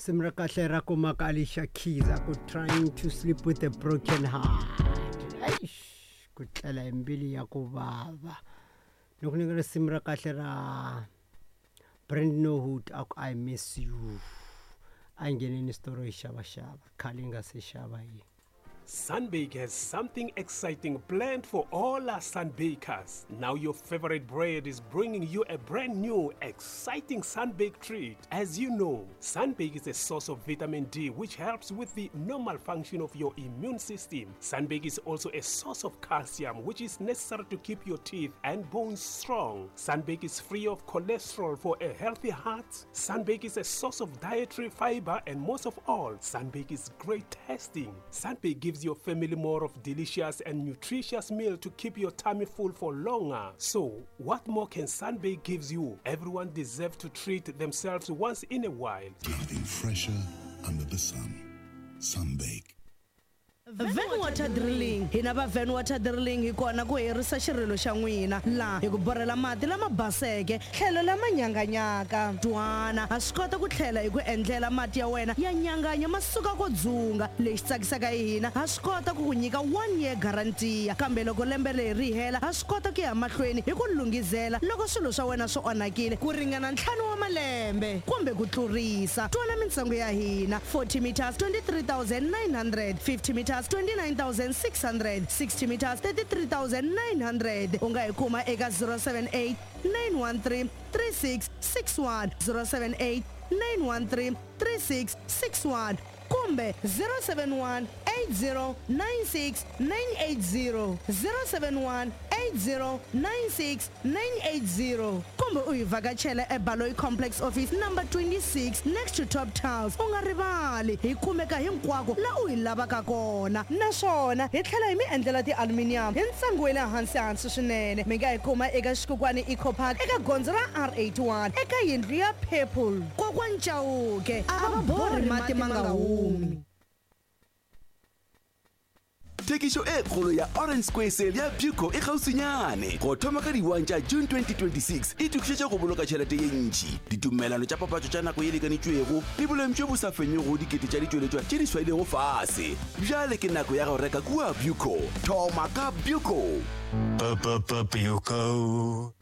Risimu ra kahle ra kumaka Alicia Keys a ku trying to sleep with a broken heart. Eish, ku tlela hi mbilu ya ku vava. Ni ku nyika risimu ra kahle ra Brand No Hood a ku I miss you. A ngheneni xitolo hi xavaxava khale yi nga se xava yi. Sunbake has something exciting planned for all our Sunbakers. Now your favorite bread is bringing you a brand new, exciting Sunbake treat. As you know, Sunbake is a source of vitamin D which helps with the normal function of your immune system. Sunbake is also a source of calcium which is necessary to keep your teeth and bones strong. Sunbake is free of cholesterol for a healthy heart. Sunbake is a source of dietary fiber and most of all, Sunbake is great tasting. Sunbake gives your family more of delicious and nutritious meal to keep your tummy full for longer. So, what more can Sunbake gives you? Everyone deserves to treat themselves once in a while. Nothing fresher under the sun. Sunbake. Van Water Drilling hina va Van Water Drilling hi kona ku herisa xirilo xa n'wina laha hi ku borhela mati lama baseke tlhelo lama nyanganyaka twana ha swi kota ku tlhela hi ku endlela mati ya wena ya nyanganya ma suka ko dzunga lexi tsakisaka hi hina ha swi kota ku ku nyika one year guarantee kambe loko lembe leri ri hela ha swi kota ku ya mahlweni hi ku lunghizela loko swilo swa wena swi onhakile ku ringana ntlhanu wa malembe kumbe ku tlurisa twana mintsengo ya hina 40 meters 23900 50 meters 29600 60 meters 33900 u nga hi kuma eka 078 913 3661 078 913 3661 kumbe 071 8096 980 071 8096 980 kumbe u hi vhakachela eBaloyi Complex Office number 26 next to Top Tiles. U nga rivali hi kumeka hinkwako la u hi lavaka kona naswona hi tlhela hi mi endlela ti-aluminium hi ntsengo wa le hansi hansi swinene. Mi nga hi kuma eka Xikukwani Eco Park eka gondzo ra R81 eka yindlu ya Purple. Kokwani Chauke a va borhi mati ma nga humi. Thekišo e kgolo ya Orange Square Sale ya Buco e kgauswinyane. Go thoma ka di 1 tša June 2026, itokišetše go boloka tšhelete ye ntši, ditumelelano tša papatšo tša nako ye lekanetšwego le boleng bjo bo sa fenyego go dikete tša ditšweletšwa tše di swailego fase. Bjale ke nako ya go reka kua Buco. Thoma ka Buco! Buco.